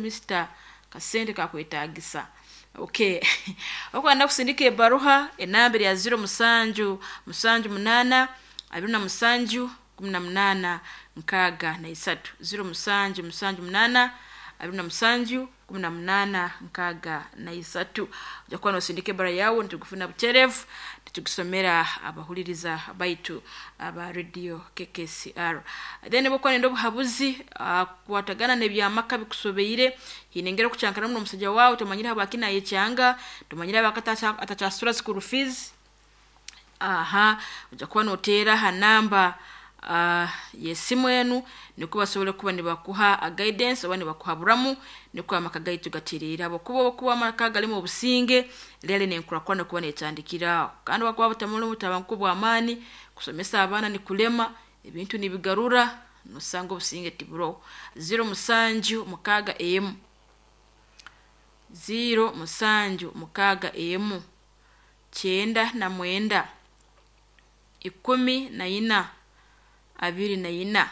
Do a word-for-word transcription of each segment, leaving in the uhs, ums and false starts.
Mister Kasente kakwetagisa. Okay, okwenda kusindika ebaruha, enamba ya ziro musanju musanju munana abiri na musanju kumi na munana nkaaga na isatu, ziro musanju musanju munana abiri na musanju kumi na munana nkaaga na isatu. Ojja kuba nosindika ebara yawe, nitugufuna buterevu, nitugusomera abahuliriza baitu aba Radio K K C R. Then bwokuba nenda obuhabuzi uh, kukwatagana n'ebyamaka bikusobeire, hiine engeri okucankanamu n'omusajja waawe, tomanyire habwaki nayekyanga, tomanyire habwaki atakyasasura school fees. Aha, ojja kuba noteera ha namba uh, yesimu enu, nikwo basobole kuba nibakuha guidance oba nibakuhaburamu, nikwo amaka gaitu gatereere, habwokuba obukuba amaka galimu obusinge, rero nenkurakurana kuba netandikira aho. Kandi bwakuba butamuli butabanguko bw'amaani, kusomesa abaana nikulema, ebintu nibigarura, nosanga obusinge tiburoho. Ziro musanju mukaaga emu, ziro musanju mukaaga emu, kyenda na mwenda, ikumi na ina, abiri na ina.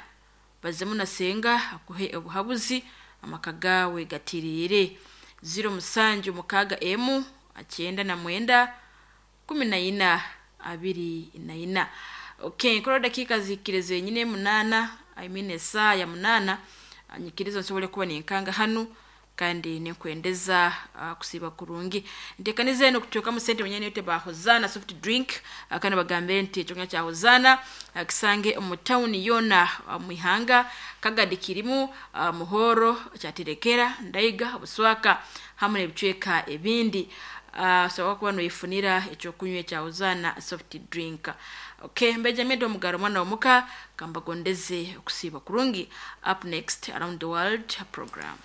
Bazemu na senga akuhe obuhabuzi, amaka gawe gatereere. Ziro musanju mukaaga emu, kyenda na mwenda, kumi na ina, abiri na ina. Okay, nkora dakiika zihikire zenyine munaana, I mean esaa ya munaana. Nyikiriza nsobole kuba ninkanga hanu, kandi ninkwendeza uh, kusiiba kurungi. Ntekaniza eno kuteekamu sente mwenyewe yote ba Hozana soft drink, uh, kandi bagambire nti ekyokunywa kya Hozana uh, kisange omu tawuni yoona uh, mu ihanga: Kagadi kirimu, uh, Muhoro, Kyaterekera, Ndaiga, Buswaka hamwe n'ebicweka ebindi. uh, sobola kuba noyefunira ekyokunywa ekya Hozana soft drink. Okay, Mbeja Omugaro, mwana womuka, kambagondeze okusiiba kurungi. Up next, Around the World program.